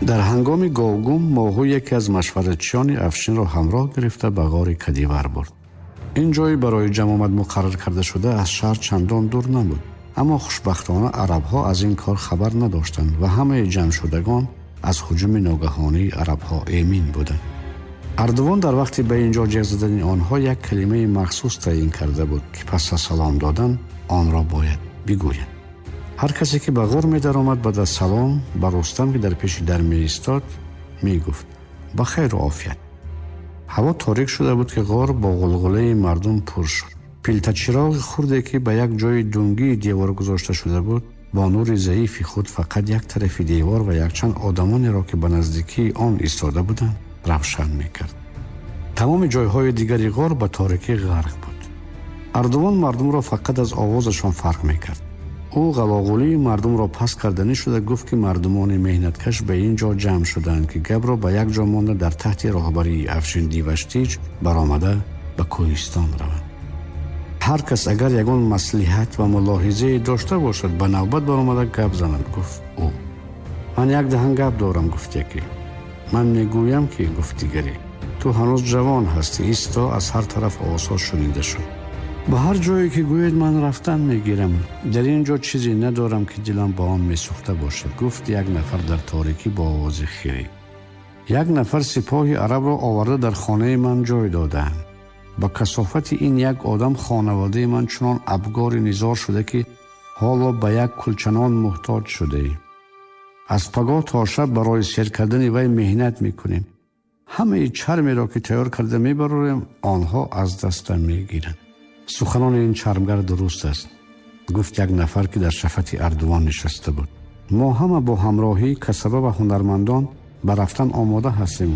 Дар ҳангоми говгум Моҳу яке аз машваратчиёни Афшинро ҳамроҳ гирифта ба ғори Кадивар бурд. Ин ҷой барои ҷамъомад муқаррар карда шуда аз шаҳр чандон дур набуд, аммо хушбахтона арабҳо аз ин кор хабар надоштанд ва ҳамаи ҷамъшудагон аз ҳуҷуми ногаҳонии арабҳо эмин буданд. Ардувон дар вақти ба ин ҷо ҷеғ задани онҳо як калимаи махсус таъин карда буд, ки пас аз салом додан онро бояд бигӯянд. Ҳар касе ки ба ғор медаромад, баъд аз салом ба Рустам, ки дар пеши дар меистод, мегуфт: ба хайру офият. Ҳаво торик шуда буд, ки ғор бо ғулғулаи мардум пур шуд. Пилтачироғи хурде, ки ба як ҷои дунгии девор гузошта шуда буд, бо нури заифи худ фақат як тарафи девор ва якчанд одамонеро, ки ба наздикии он истода буданд, равшан мекард. Тамоми ҷойҳои дигари ғор ба торикӣ ғарқ буд. Ардувон мардумро фақат аз овозашон фарқ мекард. Ӯ ғалоғулии мардумро пас карданӣ шуда гуфт, ки мардумони меҳнаткаш ба ин ҷо ҷамъ шуданд, ки гапро ба як ҷо монда дар таҳти роҳбарии Афшин Диваштич баромада ба кӯҳистон раванд. Ҳар кас агар ягон маслиҳат ва мулоҳизае дошта бошад, ба навбат баромада гап занад, гуфт ӯ. Ман як даҳан гап дорам, гуфт яке. Ман мегӯям ки, гуфт дигаре, ту ҳанӯз ҷавон ҳастӣ. Исто, аз ҳар тараф овозҳо шунида шуд. Ба ҳар ҷое ки гӯед ман рафтан мегирам. Дар ин ҷо чизе надорам, ки дилам ба он месӯхта бошад, гуфт як нафар дар торикӣ бо овози хирӣ. Як нафар сипоҳи арабро оварда дар хонаи ман ҷой додаанд. Ба касофати ин як одам хонаводаи ман чунон абгори низор шуда, ки ҳоло ба як кулчанон муҳтоҷ шудаем. Аз пагоҳ то шаб барои сер кардани вай меҳнат мекунем. Ҳамаи чармеро, ки тайёр карда мебарорем, онҳо аз даста мегиранд. Суханони ин чармгар дуруст аст, гуфт як нафар, ки дар шафати Ардувон нишаста буд. Мо ҳама бо ҳамроҳии касаба ва ҳунармандон ба рафтан омода ҳастем,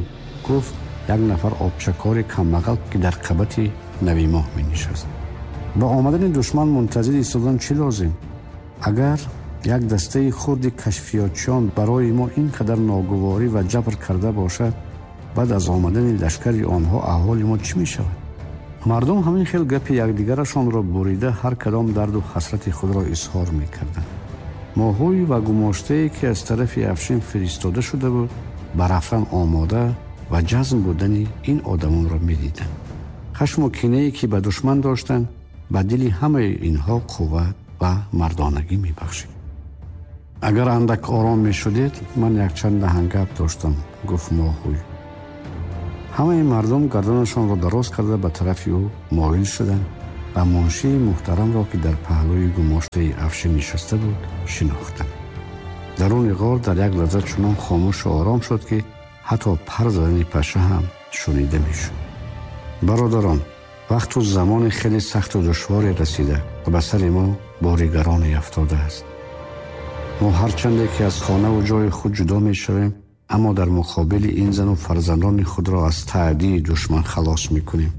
гуфт як нафар обчакори камбағал, ки дар қабати навимоҳ менишаст. Ба омадани душман мунтазир истодан чӣ лозим? Агар як дастаи хурди кашфиётчиён барои мо ин қадар ногуворӣ ва ҷабр карда бошад, баъд аз омадани лашкари онҳо аҳволи мо чӣ мешавад? Мардум ҳамин хел гапи якдигарашонро бурида ҳар кадом дарду ҳасрати худро изҳор мекарданд. Моҳӯй ва гумоштае, ки аз тарафи Афшин фиристода шуда буд, ба рафтан омода ва ҷазм будани ин одамонро медиданд. Хашму кинае, ки ба душман доштанд, ба дили ҳамаи инҳо қувват ва мардонагӣ мебахшид. Агар андак ором мешудед, ман якчанд даҳангап доштам, гуфт Моҳӯй. Ҳамаи мардум гарданашонро дароз карда ба тарафи ӯ моил шуданд ва муншии муҳтарамро, ки дар паҳлӯи гумоштаи Афшин нишаста буд, шинохтанд. Даруни ғор дар як лаҳза чунон хомӯшу ором шуд, ки ҳатто пар задани паша ҳам шунида мешуд. Бародарон, вақту замони хеле сахту душворе расида ва ба сари мо бори гароне афтодааст. Мо ҳарчанде ки аз хонаву ҷои худ ҷудо мешавем, аммо дар муқобили ин зану фарзандони худро аз таъдии душман халос мекунем.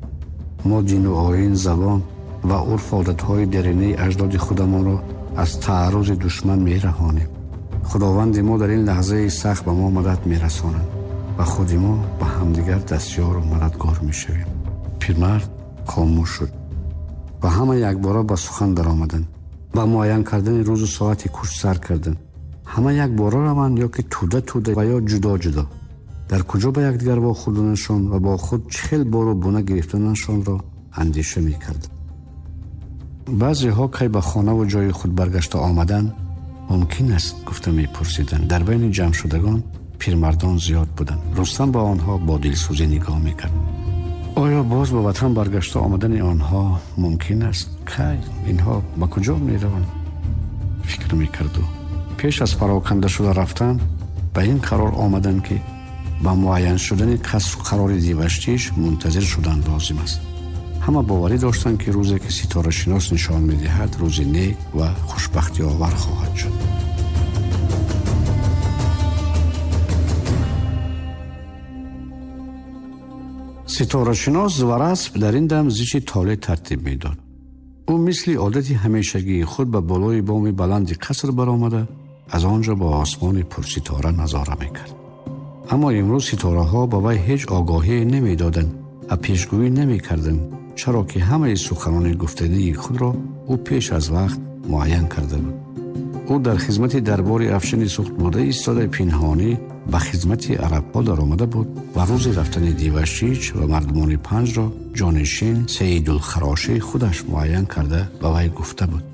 Мо дину оин, забон ва урфу одатҳои деринаи аҷдоди худамонро аз тааррузи душман мераҳонем. Худованди мо дар ин лаҳзаи сахт ба мо мадад мерасонад ва худи мо ба ҳамдигар дастёру мададгор мешавем. Пирмард хомӯш шуд ва ҳама якбора ба сухан даромаданд. Ба муайян кардани рӯзу соати кӯч сар карданд. Ҳама якбора раванд ё ки тӯда тӯда ва ё ҷудо ҷудо. Дар куҷо ба якдигар вохӯрданашон ва бо худ чӣ хел бору буна гирифтанашонро андеша мекарданд. Баъзеҳо кай ба хонаву ҷои худ баргашта омадан мумкин аст, гуфта мепурсиданд. Дар байни ҷамъшудагон пирмардон зиёд буданд. Рустам ба онҳо бо дилсӯзӣ нигоҳ мекард. Оё боз ба ватан баргашта омадани онҳо мумкин аст? Кай инҳо ба куҷо мераванд? Фикр мекард ӯ. Пеш аз пароканда шуда рафтан ба ин қарор омаданд, ки ба муайян шудани касру қарори Диваштиш мунтазир шудан лозим аст. Ҳама боварӣ доштанд, ки рӯзе ки ситорашинос нишон медиҳад, рӯзи нек ва хушбахтиовар хоҳад шуд. Ситорашинос Варасп дар ин дам зичи толеъ тартиб медод. Ӯ мисли одати ҳамешагии худ ба болои боми баланди қаср баромада аз он ҷо ба осмони пурситора назора мекард. Аммо имрӯз ситораҳо ба вай ҳеҷ огоҳие намедоданд ва пешгӯӣ намекарданд, чаро ки ҳамаи суханони гуфтании худро ӯ пеш аз вақт муайян карда буд. Ӯ дар хизмати дарбори Афшини Суғд буда истода пинҳонӣ ба хизмати арабҳо даромада буд ва рӯзи рафтани Дивашич ва мардумони Панҷро ҷонишин Саидулхарошӣ худаш муайян карда ба вай гуфта буд.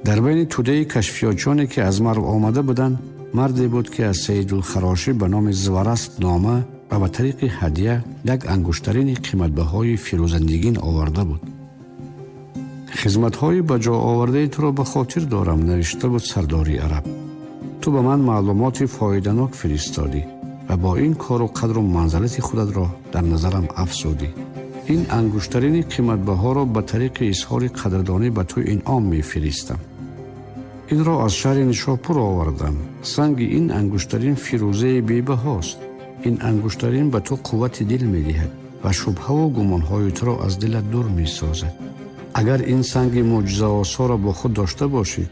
Дар байни тӯдаи кашфиётчоне ки аз Марв омада буданд, марде буд ки аз Саидулхарошӣ ба номи Зварасп нома ва ба тариқи ҳадя як ангуштарини қиматбаҳои фирӯзандигин оварда буд. Хизматҳои ба ҷо овардаи туро ба хотир дорам, навишта буд сардори араб. Ту ба ман маълумоти фоиданок фиристодӣ ва бо ин кору қадру манзалати худатро дар назарам афзудӣ. Ин ангуштарини қиматбаҳоро ба тариқи изҳори қадрдонӣ ба ту инъом мефиристам. Инро аз шаҳри Нишопур овардам. Санги ин ангуштарин фирӯзаи бебаҳост. Ин ангуштарин ба ту қуввати дил медиҳад ва шубҳаву гумонҳои туро аз дилат дур месозад. Агар ин санги мӯъҷизаосоро бо худ дошта бошӣ,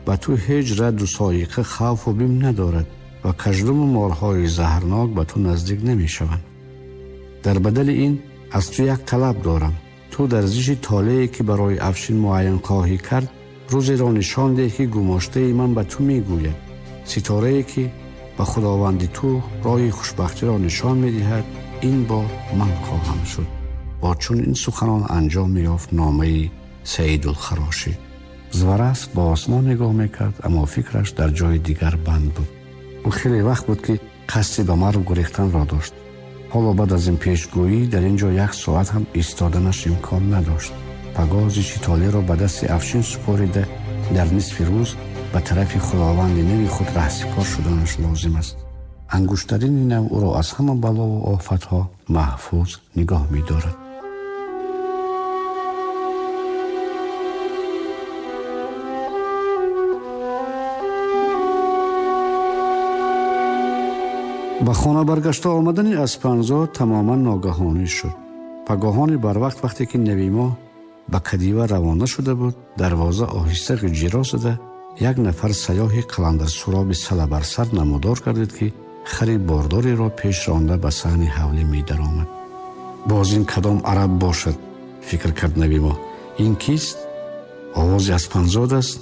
ба ту ҳеҷ радду соиқа хавфу бим надорад ва каждуму морҳои заҳрнок ба ту наздик намешаванд. Дар бадали ин аз ту як талаб дорам. Ту дар зиши толее ки барои Афшин муайян хоҳӣ кард, рӯзеро нишон деҳ ки гумоштаи ман ба ту мегӯяд. Ситорае ки ба худованди ту роҳи хушбахтиро нишон медиҳад, ин бор ман хоҳам шуд. Бо чун ин суханон анҷом меёфт номаи Саидулхарошӣ. Зварасп ба осмон нигоҳ мекард, аммо фикраш дар ҷои дигар банд буд. Ӯ хеле вақт буд ки қасди ба Марв гурехтанро дошт. Ҳоло баъд аз ин пешгӯӣ дар ин ҷо як соат ҳам истоданаш имкон надошт. Пагоҳ зиши толеро ба дасти Афшин супорида дар нисфи рӯз ба тарафи худованди нави худ раҳсипор шуданаш лозим аст. Ангуштарини нав ӯро аз ҳама балову офатҳо маҳфуз нигоҳ медорад. Ба хона баргашта омадани Аспанзод тамоман ногаҳонӣ шуд. Пагоҳони барвақт вақте ки Навимо ба Кадива равона шуда буд, дарвоза оҳиста ғиҷиро зада як нафар сайёҳи қаландарсуроби салабарсар намудор гардид ки хари бордореро пеш ронда ба саҳни ҳавлӣ медаромад. Боз ин кадом араб бошад? Фикр кард Навимо. Ин кист? Овози Аспанзод аст.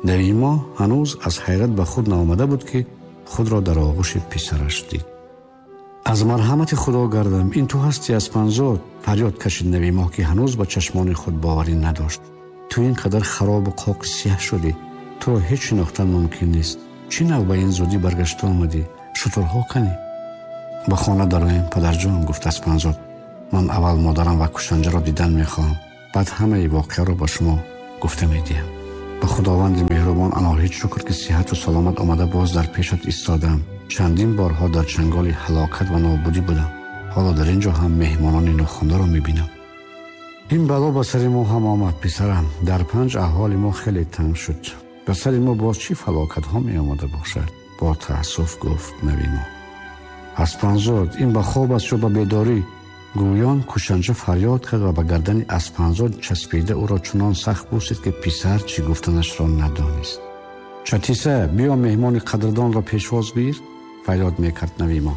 Навимо ҳанӯз аз ҳайрат ба худ наомада буд ки худро дар оғӯши писараш дид. Аз марҳамати Худо гардам, ин ту ҳастӣ Аспанзод? Фарёд кашид Навимо ки ҳанӯз ба чашмони худ боварӣ надошт. Ту ин қадар харобу қоқи сиёҳ шудӣ, туро ҳеҷ шинохтан мумкин нест. Чӣ нав ба ин зудӣ баргашта омадӣ? Шутурҳо канӣ? Ба хона дароем, падарҷон, гуфт Аспанзод. Ман аввал модарам ва кушанҷаро дидан мехоҳам, баъд ҳамаи воқеаро ба шумо гуфта медиҳам. Ба худованди меҳрубон аноҳид шукр ки сиҳату саломат омада боз дар пешат истодаам. Чандин борҳо дар чанголи ҳалокат ва нобудӣ будам. Ҳоло дар ин ҷо ҳам меҳмонони нохондаро мебинам. Ин бало ба сари мо ҳам омад, писарам. Дар Панҷ аҳволи мо хеле танг шуд. Ба сари мо боз чӣ фалокатҳо меомада бошад? Бо таассуф гуфт Навимо. Аспанзод, ин ба хоб аст ё ба бедорӣ? Гӯён кушанча фарёд кард ва ба гардани Аспанзод часпида ӯро чунон сахт бусид ки писар чӣ гуфтанашро надонист. Чатиса, биё меҳмони қадрдонро пешвоз гир, фарёд мекард Навимо.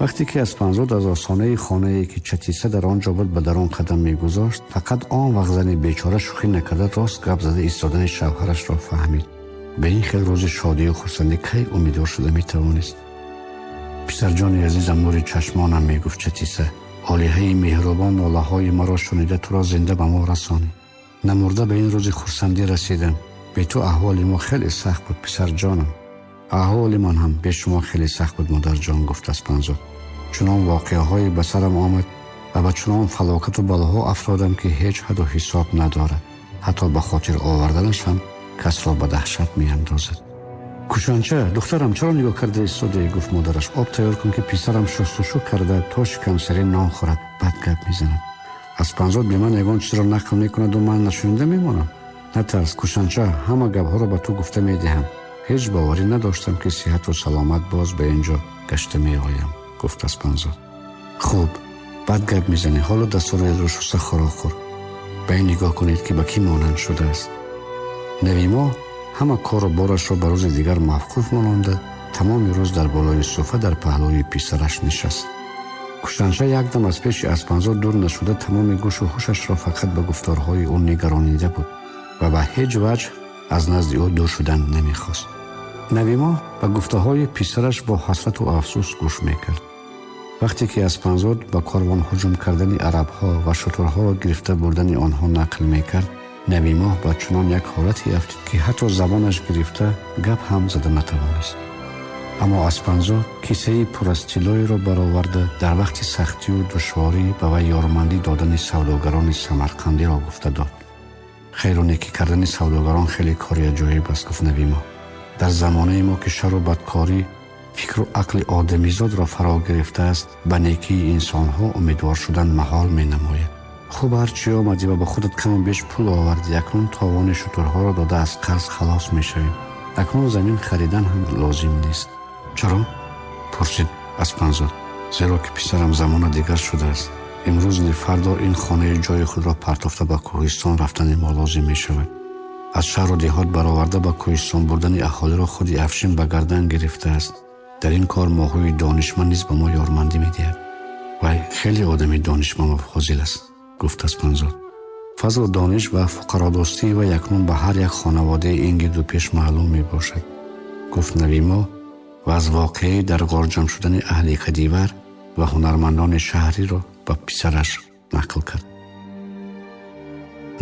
Вақте ки Аспанзод аз осонаи хонае ки Чатиса дар он ҷо буд ба дарун қадам мегузошт, фақат он вақт зани бечора шӯхӣ накарда рост гап зада истодани шавҳарашро фаҳмид. Ба ин хел рӯзи шодию хурсандӣ кай умедвор шуда метавонист? Писарҷони азизам, нури чашмонам, мегуфт Чатиса, олиҳаи меҳрубон нолаҳои маро шунида туро зинда ба мо расонид. Намурда ба ин рӯзи хурсандӣ расидам. Бе ту аҳволи мо хеле сахт буд, писарҷонам. Аҳволи ман ҳам бе шумо хеле сахт буд, модарҷон, гуфт Аспанзод. Чунон воқеаҳое ба сарам омад ва ба чунон фалокату балоҳо афтодам ки ҳеҷ ҳаду ҳисоб надорад. Ҳатто ба хотир оварданаш ҳам касро ба даҳшат меандозад. Кушанча, духтарам, чаро нигоҳ карда истодаӣ? Гуфт модараш. Об тайёр кун ки писарам шустушу карда то шикамсари нон хӯрад, бад гап мезанад. Аспанзод бе ман ягон чизро нақл мекунаду ман нашунида мемонам. Натарс, кушанча, ҳама гапҳоро ба ту гуфта медиҳам. Ҳеҷ боварӣ надоштам ки сиҳату саломат боз ба ин ҷо гашта меоям, гуфт Аспанзод. Хуб, бад гап мезанӣ, ҳоло дастуроятро шуста хӯрок хӯр. Ба ин нигоҳ кунед ки ба кӣ монанд шудааст. Навимо ҳама кору борашро ба рӯзи дигар мавқуф мононда, тамоми рӯз дар болои суфа дар паҳлӯи писараш нишаст. Кушанча якдам аз пеши Аспанзод дур нашуда тамоми гӯшу ҳушашро фақат ба гуфторҳои ӯ нигаронида буд ва ба ҳеҷ ваҷҳ аз назди ӯ дур шудан намехост. Навимоҳ ба гуфтаҳои писараш бо ҳасрату афсӯс гӯш мекард. Вақте ки Аспанзод ба корвон ҳуҷум кардани арабҳо ва шутурҳоро гирифта бурдани онҳо нақл мекард, Навимоҳ ба чунон як ҳолате афтид, ки ҳатто забонаш гирифта гап ҳам зада натавонист. Аммо Аспанзод кисаи пур аз тиллоеро бароварда дар вақти сахтию душворӣ ба вай ёрмандӣ додани савдогарони самарқандиро гуфта дод. Хайру некӣ кардани савдогарон хеле кори аҷоиб аст, гуфт Навимоҳ. Дар замонаи мо ки шарру бадкорӣ фикру ақли одамизодро фаро гирифтааст, ба некии инсонҳо умедвор шудан маҳол менамояд. Хуб, ҳарчи омадӣ ва ба худат каму беш пул овардӣ, акнун товони шутурҳоро дода аз қарз халос мешавем. Акнун замин харидан ҳам лозим нест. Чаро? Пурсид Аспанзод. Зеро ки писарам замона дигар шудааст. Имрӯз не фардо ин хонаи ҷои худро партофта ба кӯҳистон рафтани мо лозим мешавад. Аз шаҳру деҳот бароварда ба кӯҳистон бурдани аҳолиро худи Афшин ба гардан гирифтааст. Дар ин кор моҳӯи донишманд низ ба мо ёрмандӣ медиҳад. Вай хеле одами донишманд ва фозил аст, гуфт Аспанзод. Фазлу дониш ва фуқародӯстии вай акнун ба ҳар як хонаводаи ин гирду пеш маълум мебошад, гуфт Навимоҳ ва аз воқеаи дар ғор ҷамъ шудани аҳли Кадивар ва ҳунармандони шаҳриро ба писараш нақл кард.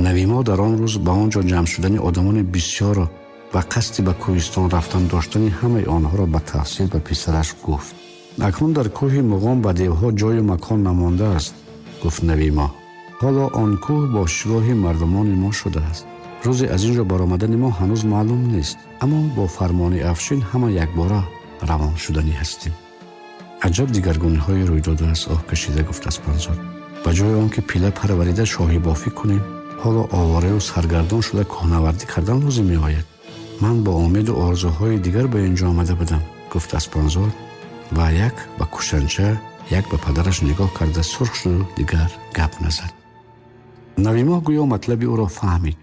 Навимоҳ дар он рӯз ба он ҷо ҷамъ шудани одамони бисёрро ва қасди ба кӯҳистон рафтан доштани ҳамаи онҳоро ба тафсил ба писараш гуфт. Акнун дар кӯҳи Муғон ба девҳо ҷою макон намондааст, гуфт Навимоҳ. Ҳоло он кӯҳ бошгоҳи мардумони мо шудааст. Рӯзе аз ин ҷо баромадани мо ҳанӯз маълум нест, аммо бо фармони Афшин ҳама якбора равон шуданӣ ҳастем. Аҷаб дигаргуниҳое рӯй додааст, оҳ кашида гуфт Аспанзод. Ба ҷои он ки пила парварида шоҳибофӣ кунем, ҳоло овораю саргардон шуда кӯҳнавардӣ кардан лозим меояд. Ман бо умеду орзуҳои дигар ба ин ҷо омада будам, гуфт Аспанзод ва як ба кушанча, як ба падараш нигоҳ карда сурх шуду дигар гап назад. Навимоҳ гӯё матлаби ӯро фаҳмид.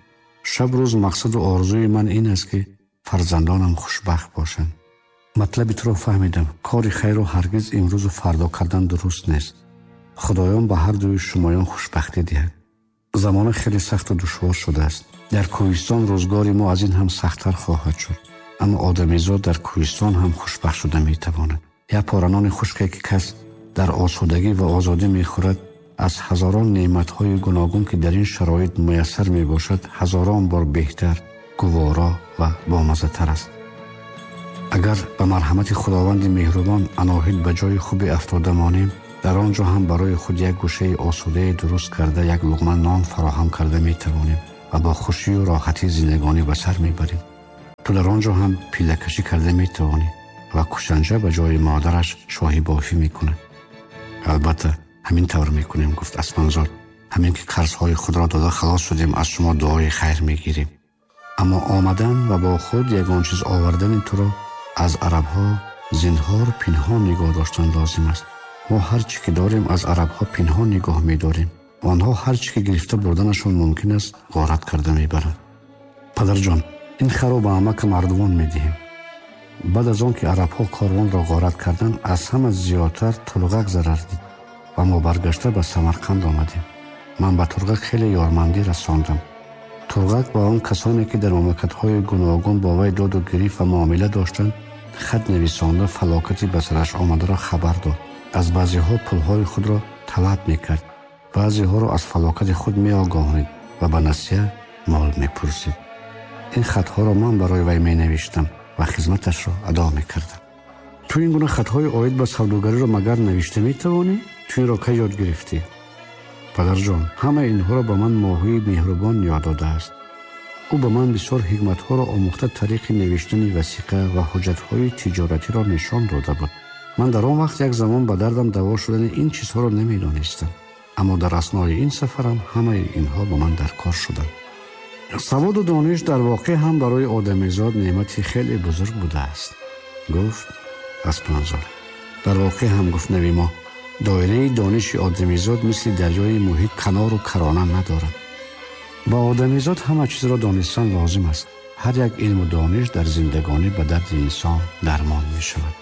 Шаб рӯз мақсаду орзуи ман ин аст, ки фарзандонам хушбахт бошанд. Матлаби туро фаҳмидам. Кори хайрро ҳаргиз имрӯзу фардо кардан дуруст нест. Худоён ба ҳар дуи шумоён хушбахтӣ диҳад. Замона хеле сахту душвор шудааст. Дар кӯҳистон рӯзгори мо аз ин ҳам сахттар хоҳад шуд. Аммо одамизод дар кӯҳистон ҳам хушбахт шуда метавонад. Як пора нони хушке ки кас дар осудагӣ ва озодӣ мехӯрад, аз ҳазорон неъматҳои гуногун ки дар ин шароит муяссар мебошад, ҳазорон бор беҳтар, гуворо ва бомаззатар аст. Агар ба марҳамати Худованди меҳрубон аноҳид ба ҷои хубе афтода монем, дар он ҷо ҳам барои худ як гӯшаи осудае дуруст карда, як луқма нон фароҳам карда метавонем ва бо хушию роҳатии зиндагонӣ ба сар мебарем. Ту дар он ҷо ҳам пиллакашӣ карда метавонӣ ва кушанҷа ба ҷои модараш шоҳибофӣ мекунад. Албатта ҳамин тавр мекунем, гуфт Аспанзод. Ҳамин ки қарзҳои худро дода халос шудем, аз шумо дуои хайр мегирем. Аммо омадан ва бо худ ягон чиз овардани туро аз арабҳо зинҳор пинҳон нигоҳ доштан лозим аст. Мо ҳар чӣ ки дорем аз арабҳо пинҳон нигоҳ медорем. Онҳо ҳар чӣ ки гирифта бурданашон мумкин аст, ғорат карда мебаранд. Падарҷон, ин харо ба амака мардумон медиҳем. Баъд аз он ки арабҳо корвонро ғорат карданд, аз ҳама зиёдтар Турғак зарар дид ва мо баргашта ба Самарқанд омадем. Ман ба Турғак хеле ёрмандӣ расондам. Турғак ба он касоне ки дар мамлакатҳои гуногун бо вай доду гирифт ва муомила доштанд, хат нависонда фалокати ба сараш омадаро хабар дод. Аз баъзеҳо пулҳои худро талаб мекард, баъзеҳоро аз фалокати худ меогоҳонид ва ба насия мол мепурсид. Ин хатҳоро ман барои вай менавиштам ва хизматашро адо мекардам. Ту ин гуна хатҳои оид ба савдогариро магар навишта метавонӣ? Ту инро кай ёд гирифтӣ? Падарҷон, ҳамаи инҳоро ба ман моҳии меҳрубон ёд додааст. Ӯ ба ман бисёр ҳикматҳоро омӯхта тариқи навиштани васиқа ва ҳуҷҷатҳои тиҷоратиро нишон дода буд. Ман дар он вақт як замон ба дардам даво шудани ин чизҳоро намедонистам, аммо дар аснои ин сафарам ҳамаи инҳо ба ман дар кор шуданд. Саводу дониш дар воқеъ ҳам барои одамизод неъмати хеле бузург будааст, гуфт Аспанзод. Дар воқеъ ҳам, гуфт Навимоҳ, доираи дониши одамизод мисли дарёи муҳит канору карона надорад. Ба одамизод ҳама чизро донистан лозим аст. Ҳар як илму дониш дар зиндагонӣ ба дарди инсон дармон мешавад.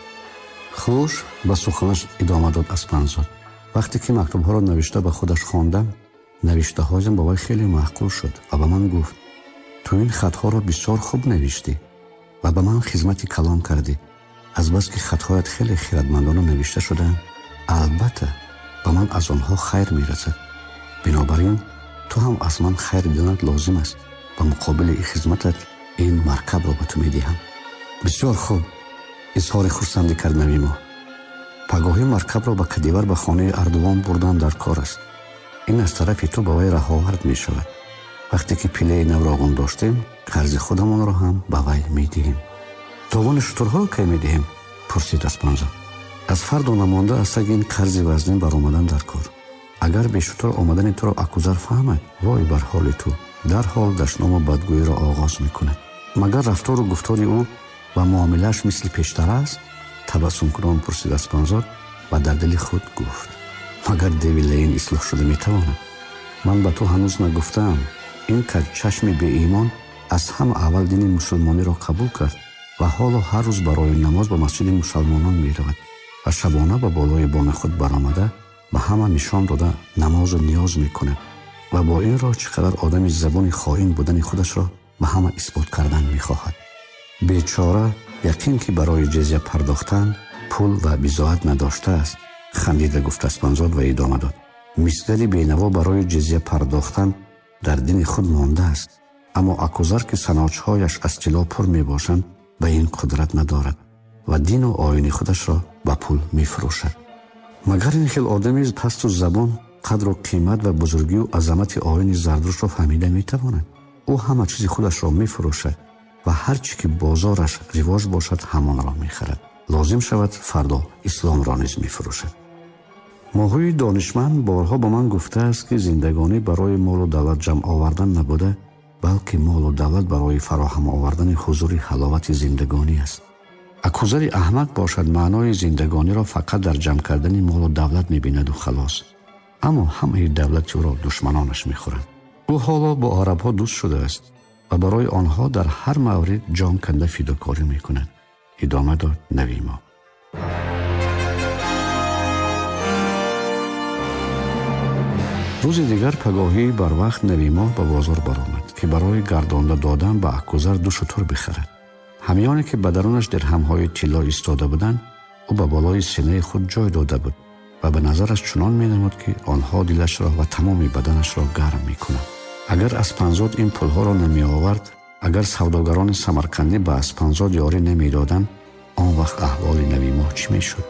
Хуш, ба суханаш идома дод Аспанзод. Вақте ки мактубҳоро навишта ба худаш хондам, навиштаҳоям ба вай хеле маъқул шуд ва ба ман гуфт: ту ин хатҳоро бисёр хуб навиштӣ. ва ба ман хизмати калон кардӣ. Азбаски хатҳоят хеле хиратмандона навишта шудаанд, албатта ба ман аз онҳо хайр мерасад. Бинобар ин ту ҳам аз ман хайр диданат лозим аст. Ба муқобили ин хизматат ин маркабро ба ту медиҳам. Бисёр хуб, изҳори хурсандӣ кард Навимоҳ. Пагоҳӣ маркабро ба Кадивар ба хонаи Ардувон бурдан дар кор аст. Ин аз тарафи ту ба вай раҳовард мешавад. Вақте ки пилаи навроғун доштем, қарзи худамонро ҳам ба вай медиҳем. Товони шутурҳоро кай медиҳем? Пурсид Аспанзод. Аз фардо намонда аз таги ин қарзи вазнин баромадан дар кор. Агар бешутур омадани туро Акузар фаҳмад, вой бар ҳоли ту, дарҳол дашному бадгӯиро оғоз мекунад. Магар рафтору гуфтори ӯ ва муомилааш мисли пештар аст? Табассумкунон пурсид Аспанзод ва дар дили худ гуфт: магар деви лаин ислоҳ шуда метавонад? Ман ба ту ҳанӯз нагуфтаам, ин каҷчашми беимон аз ҳама аввал дини мусулмониро қабул кард ва ҳоло ҳар рӯз барои намоз ба масҷиди мусалмонон меравад ва шабона ба болои боми худ баромада ба ҳама нишон дода намозу ниёз мекунад ва бо ин роҳ чӣ қадар одами забони хоин будани худашро ба ҳама исбот кардан мехоҳад. Бечора яқин ки барои ҷизя пардохтан пул ва бизоат надоштааст, хандида гуфт Аспанзод ва идома дод: мисгари бенаво барои ҷизя пардохтан дар дини худ мондааст, аммо Акузар ки саночҳояш аз тилло пур мебошанд ба ин қудрат надорад ва дину оини худашро ба пул мефурӯшад. Магар ин хел одами пасту забон қадру қимат ва бузургию азамати оини Зардуштро фаҳмида метавонад? Ӯ ҳама чизи худашро мефурӯшад ва ҳар чӣ ки бозораш ривоҷ бошад ҳамонро мехарад. Лозим шавад фардо исломро низ мефурӯшад. Моҳӯи донишманд борҳо ба ман гуфтааст, ки зиндагонӣ барои молу давлат ҷамъ овардан набуда, балки молу давлат барои фароҳам овардани ҳузури ҳаловати зиндагонӣ аст. Акузари аҳмақ бошад маънои зиндагониро фақат дар ҷамъ кардани молу давлат мебинаду халос. Аммо ҳамаи давлати ӯро душманонаш мехӯранд. Ӯ ҳоло бо арабҳо дӯст шудааст ва барои онҳо дар ҳар маврид ҷон канда фидокорӣ мекунад. Идома дод Навимоҳ. Рӯзи дигар пагоҳӣ барвақт Навимоҳ ба бозор баромад, ки барои гардонда додан ба Акузар ду шутур бихарад. Ҳамёне ки ба дарунаш дирҳамҳои тилло истода буданд, ӯ ба болои синаи худ ҷой дода буд ва ба назараш чунон менамуд, ки онҳо дилашро ва тамоми баданашро гарм мекунанд. Агар Аспанзод ин пулҳоро намеовард, агар савдогарони самарқандӣ ба Аспанзод ёрӣ намедоданд, он вақт аҳволи Навимоҳ чӣ мешуд?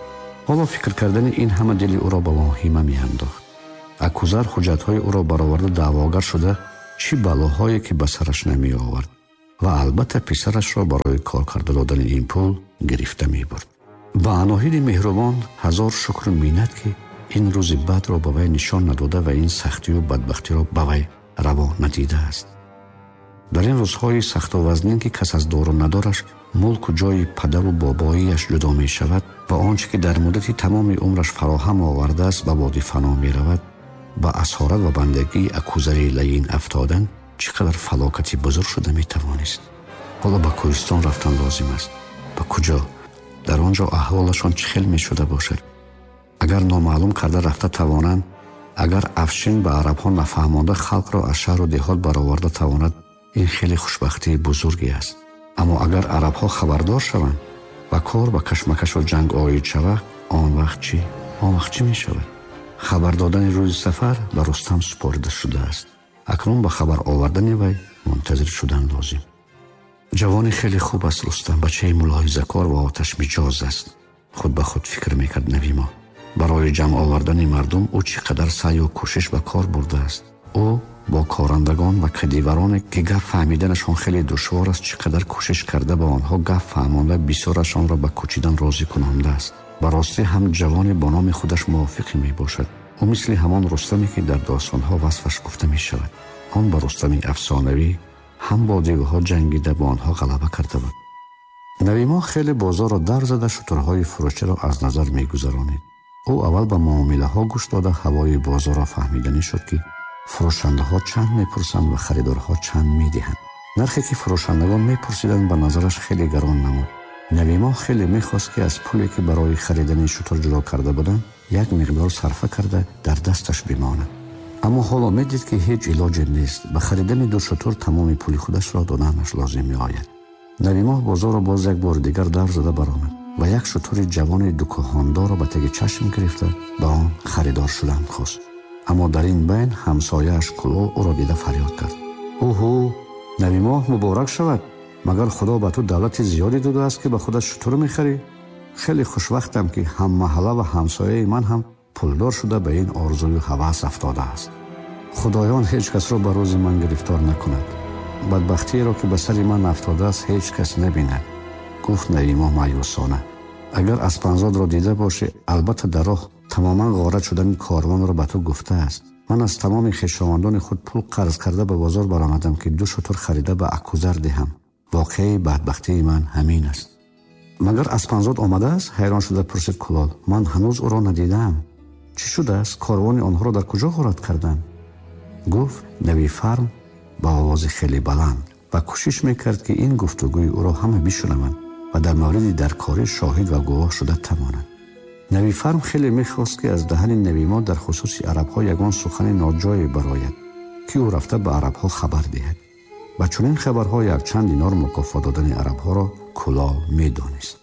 Ҳоло фикр кардани ин ҳама дили ӯро ба воҳима меандохт. Акузар ҳуҷҷатҳои ӯро бароварда даъвогар шуда чӣ балоҳое ки ба сараш намеовард ва албатта писарашро барои кор карда додани ин пул гирифта мебурд. Ба Аноҳиди меҳрубон ҳазор шукру миннат, ки ин рӯзи бадро ба вай нишон надода ва ин сахтию бадбахтиро ба вай раво надидааст. Дар ин рӯзҳои сахту вазнин, ки кас аз дору надораш мулку ҷои падару бобоияш ҷудо мешавад ва он чӣ ки дар муддати тамоми умраш фароҳам овардааст ба боди фано меравад, ба асорат ва бандагии Акузари лаин афтодан чӣ қадар фалокати бузург шуда метавонист. Ҳоло ба кӯҳистон рафтан лозим аст. Ба куҷо? Дар он ҷо аҳволашон чӣ хел мешуда бошад? Агар номаълум карда рафта тавонанд, агар Афшин ба арабҳо нафаҳмонда халқро аз шаҳру деҳот бароварда тавонад, ин хеле хушбахтии бузурге аст. Аммо агар арабҳо хабардор шаванд ва кор ба кашмакашу ҷанг оид шавад, он вақт чӣ? Он вақт чӣ мешавад? Хабар додани рӯзи сафар ба Рустам супорида шудааст. Акнун ба хабар овардани вай мунтазир шудан лозим. Ҷавони хеле хуб аст Рустам, бачаи мулоҳизакор ва оташмиҷоз аст. Худ ба худ фикр мекард Навимоҳ. Барои ҷамъ овардани мардум ӯ чӣ қадар саъю кӯшиш ба кор бурдааст. Ӯ бо корандагон ва кадивароне, ки гап фаҳмиданашон хеле душвор аст, чӣ қадар кӯшиш карда ба онҳо гап фаҳмонда бисёрашонро ба кӯчидан розӣ кунондааст. Ба ростӣ ҳам ҷавоне бо номи худаш мувофиқе мебошад. Ӯ мисли ҳамон Рустаме, ки дар достонҳо васфаш гуфта мешавад. Он ба Рустами афсонавӣ ҳам бо девҳо ҷангида бо онҳо ғалаба карда буд. Навимоҳ хеле бозорро дар зада шутурҳои фурӯширо аз назар мегузаронид. Ӯ аввал ба муомилаҳо гӯш дода ҳавои бозорро фаҳмиданӣ шуд, ки фурӯшандаҳо чанд мепурсанд ва харидорҳо чанд медиҳанд. Нархе ки фурӯшандагон мепурсиданд ба назараш хеле гарон намуд. Навимоҳ хеле мехост, ки аз пуле ки барои харидани шутур ҷудо карда буданд, як миқдор сарфа карда дар дасташ бимонад. Аммо ҳоло медид, ки ҳеҷ илоҷе нест. Ба харидани ду шутур тамоми пули худашро доданаш лозим меояд. Навимоҳ бозорро боз як бори дигар давр зада баромад ва як шутури ҷавони дукоҳондорро ба таги чашм гирифта ба он харидор шудан хост. Аммо дар ин байн ҳамсояаш Кулол ӯро дида фарёд кард: «Уҳу, Навимоҳ муборак шавад! Магар Худо ба ту давлати зиёде додааст, ки ба худат шутур мехарӣ? Хеле хушвақтам, ки ҳаммаҳалла ва ҳамсояи ман ҳам пулдор шуда ба ин орзую ҳавас афтодааст. Худоён ҳеҷ касро ба рӯзи ман гирифтор накунад. Бадбахтиеро, ки ба сари ман афтодааст, ҳеҷ кас набинад», гуфт Навимоҳ маъюсона. «Агар Аспанзодро дида бошӣ, албатта дар роҳ тамоман ғорат шудани корвонро ба ту гуфтааст. Ман аз тамоми хешовандони худ пул қарз карда ба бозор баромадам, ки 2 шутур харида ба Акузар диҳам. Воқеаи бадбахтии ман ҳамин аст». «Магар Аспанзод омадааст?» ҳайрон шуда пурсид Кулол. «Ман ҳанӯз ӯро надидаам. Чӣ шудааст? Корвони онҳоро дар куҷо ғорат карданд?» гуфт Навифарм ба овози хеле баланд ва кӯшиш мекард, ки ин гуфтугӯи ӯро ҳама бишунаванд ва дар мавриди даркорӣ шоҳид ва гувоҳ шуда тавонанд. Навифарм хеле мехост, ки аз даҳани Навимоҳ дар хусуси арабҳо ягон сухани ноҷое барояд, ки ӯ рафта ба арабҳо хабар диҳад. Ба чунин хабарҳо якчанд динор мукофот додани арабҳоро Кулол медонист.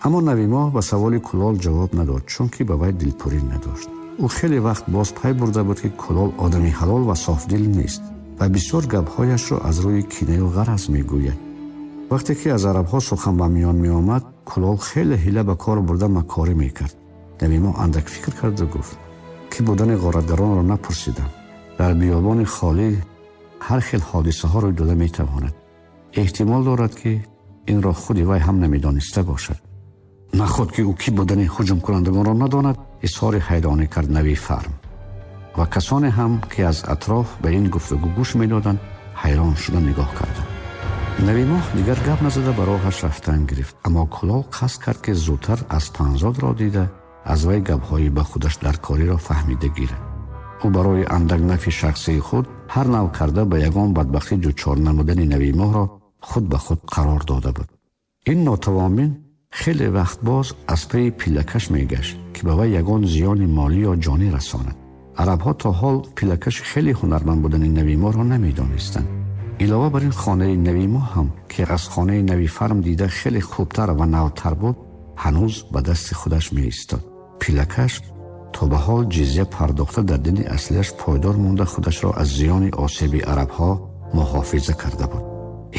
Аммо Навимоҳ ба саволи Кулол ҷавоб надод, чунки ба вай дилпурӣ надошт. Ӯ хеле вақт боз пай бурда буд, ки Кулол одами ҳалол ва софдил нест ва бисёр гапҳояшро аз рӯи кинаю ғараз мегӯяд. Вақте ки аз арабҳо сухан ба миён меомад, Кулол хеле ҳила ба кор бурда макорӣ мекард. Навимоҳ андак фикр карду гуфт: «Ки будани ғоратгаронро напурсидам. Дар биёбони холӣ ҳар хел ҳодисаҳо рӯй дода метавонад. Эҳтимол дорад, ки инро худи вай ҳам намедониста бошад». «Наход ки ӯ кӣ будани ҳуҷумкунандагонро надонад?» изҳори ҳайронӣ кард Навифарм. Ва касоне ҳам, ки аз атроф ба ин гуфтугӯ гӯш медоданд, ҳайрон шуда нигоҳ карданд. Навимоҳ дигар гап назада ба роҳаш рафтан гирифт, аммо Кулол қасд кард, ки зудтар Аспанзодро дида аз вай гапҳои ба худаш даркориро фаҳмида гирад. Ӯ барои андак нафи шахсии худ ҳар нав карда ба ягон бадбахтӣ дучор намудани Навимоҳро худ ба худ қарор дода буд. Ин нотавонбин хеле вақт боз аз пайи пиллакаш мегашт, ки ба вай ягон зиёни молӣ ё ҷонӣ расонад. Арабҳо то ҳол пиллакаши хеле ҳунарманд будани Навимоҳро намедонистанд. Илова бар ин, хонаи Навимоҳ ҳам, ки аз хонаи Навифарм дида хеле хубтар ва навтар буд, ҳанӯз ба дасти худаш меистод. Пиллакаш то ба ҳол ҷизя пардохта дар дини аслияш пойдор монда худашро аз зиёни осеби арабҳо муҳофиза карда буд.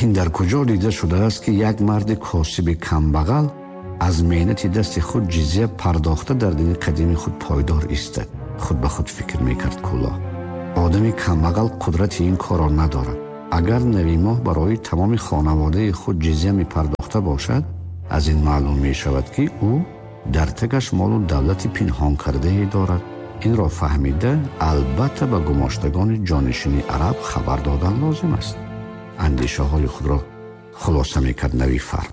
Ин дар куҷо дида шудааст, ки як марди косиби камбағал аз меҳнати дасти худ ҷизя пардохта дар дини қадими худ пойдор истад? Худ ба худ фикр мекард Кулол. Одами камбағал қудрати ин корро надорад. Агар Навимоҳ барои тамоми хонаводаи худ ҷизя мепардохта бошад, аз ин маълум мешавад, ки ӯ дар тагаш молу давлати пинҳон кардае дорад. Инро фаҳмида албатта ба гумоштагони ҷонишини араб хабар додан лозим аст. Андешаҳои худро хулоса мекард Навифарм.